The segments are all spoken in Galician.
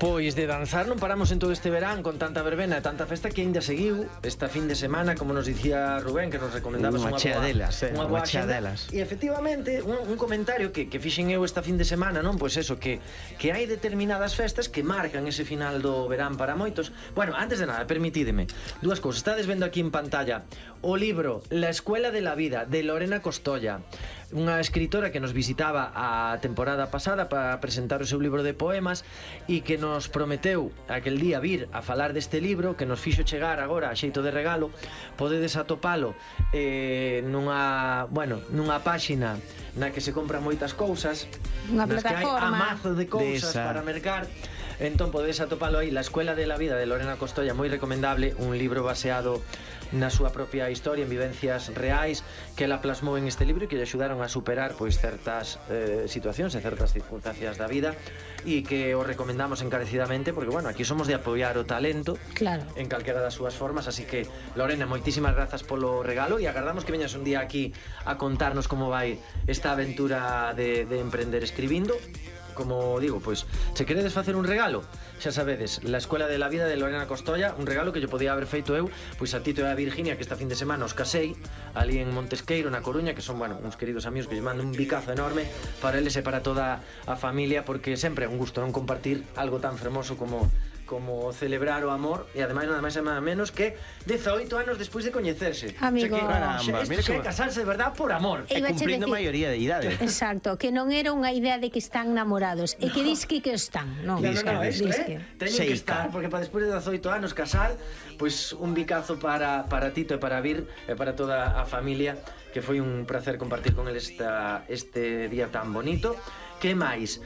Pois de danzar non paramos en todo este verán con tanta verbena e tanta festa que ainda seguiu esta fin de semana, como nos dicía Rubén, que nos recomendaba unha chea delas, unha chea delas. E efectivamente, un comentario que fixen eu esta fin de semana, non? Pois eso, que hai determinadas festas que marcan ese final do verán para moitos. Bueno, antes de nada, permitídeme dúas cousas. Estades vendo aquí en pantalla o libro La Escuela de la Vida, de Lorena Costolla, unha escritora que nos visitaba a temporada pasada para presentar o seu libro de poemas e que nos prometeu aquel día vir a falar deste libro, que nos fixo chegar agora a xeito de regalo. Podedes atopalo nunha páxina na que se compran moitas cousas, unha nas que hai plataforma amazo de cousas para mercar. Entón podedes atopalo aí, La Escuela de la Vida, de Lorena Costolla, moi recomendable, un libro baseado na súa propia historia, en vivencias reais que ela plasmou en este libro e que lle axudaron a superar pois certas situacións e certas circunstancias da vida, e que o recomendamos encarecidamente porque, bueno, aquí somos de apoiar o talento, claro, en calquera das súas formas. Así que, Lorena, moitísimas grazas polo regalo e agardamos que veñas un día aquí a contarnos como vai esta aventura de emprender escribindo. Como digo, pois, se queredes facer un regalo, xa sabedes, La Escuela de la Vida, de Lorena Costolla, un regalo que yo podía haber feito eu, pois a Tito e a Virginia, que esta fin de semana os casei ali en Montesqueiro, na Coruña, que son, bueno, uns queridos amigos que lle mando un bicazo enorme para eles e para toda a familia, porque sempre é un gusto non compartir algo tan fermoso como celebrar o amor, e ademais nada máis e nada menos que 18 anos despois de coñecerse. Amigo, isto é casarse de verdad por amor. E cumprindo maioría de idade. Exacto, que non era unha idea de que están namorados, e que dis que están, non. Teñen que estar, porque para despois de 18 anos casar, pois un bicazo para Tito e para Vir e para toda a familia, que foi un placer compartir con eles este día tan bonito. Que máis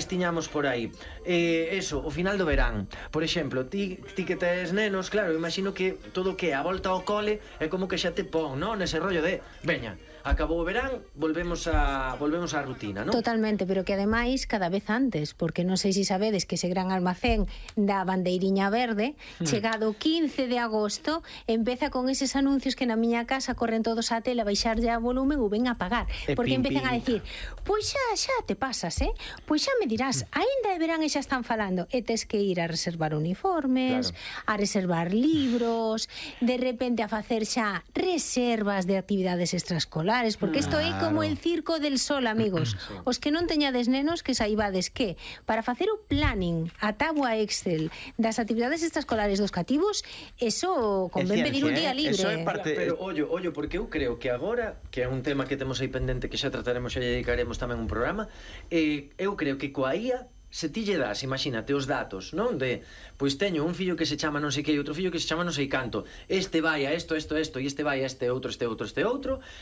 tiñamos por aí? Eso, o final do verán. Por exemplo, ti que tes nenos, claro, imagino que todo o que a volta ao cole é como que xa te pon, non? Nese rollo de, veña, acabou o verán, volvemos á rutina, non? Totalmente, pero que ademais cada vez antes, porque non sei se sabedes que ese gran almacén da bandeiriña verde, chegado o 15 de agosto, empeza con eses anuncios que na miña casa corren todos á tele a baixarlle a volumen ou ven a pagar, porque empezan a decir, pois xa te pasas, pois xa me dirás, aínda de verán e xa están falando, e tes que ir a reservar uniformes, claro, a reservar libros, de repente a facer xa reservas de actividades extraescolares, porque isto é como el circo del sol, amigos. Sí. Os que non teñades nenos, que saibades que para facer o planning, a tábua Excel das actividades extraescolares dos cativos, eso convén pedir un día libre. Eso é parte... Pero ollo, porque eu creo que agora, que é un tema que temos aí pendente, que xa trataremos, xa dedicaremos tamén un programa, eu creo que coa IA, se ti lle das, imagínate, os datos, non? De, pois teño un fillo que se chama non sei que e outro fillo que se chama non sei canto, este vai a isto, e este vai a este outro,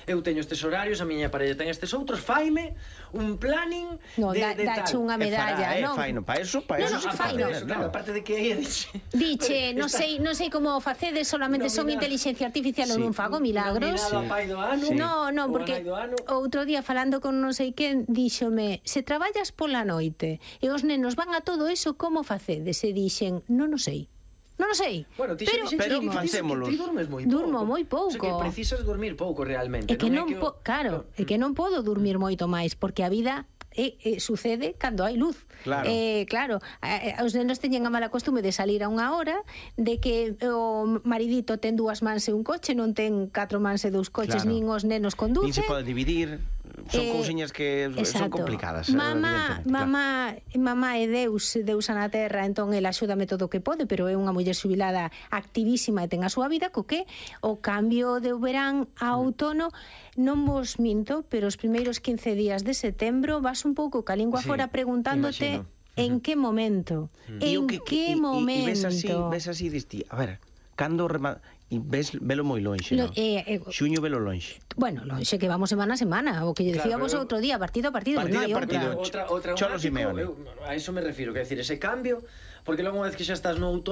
eu teño estes horarios, a miña parella ten estes outros, faime un planning dache unha medalla, non? Faino, para eso, claro, aparte de que aí diche, non sei como facedes, solamente son inteligencia artificial ou non fago milagros. Non, porque outro día falando con non sei quen, díxome, se traballas pola noite e os nenos van a todo eso, como facedes? E dixen, non o sei. Bueno, pero facémolo. Ti dormes moi pouco. Durmo moi pouco. O sea, que precisas dormir pouco realmente. É que non podo dormir moito máis, porque a vida sucede cando hai luz. Claro. Claro, os nenos teñen a mala costume de salir a unha hora, de que o maridito ten 2 mans e un coche, non ten 4 mans e 2 coches, nin os nenos conducen. Nin se pode dividir. Son cousiñas que son complicadas. Mamá é Deus na terra, entón ela axúdame todo o que pode, pero é unha muller xubilada activísima e ten a súa vida, co que o cambio de verán a outono, non vos minto, pero os primeiros 15 días de setembro vas un pouco ca lingua fora preguntándote en que momento. En que momento. E ves así, diste, a ver, cando e velo moi lonxe, non? Xuño velo lonxe. Bueno, lonxe que vamos semana a semana, o que lle dicíamos outro día, partido a partido, non hai outra. Outra Cholo Simeone. A iso me refiro, que decir, ese cambio, porque logo unha vez que xa estás no outono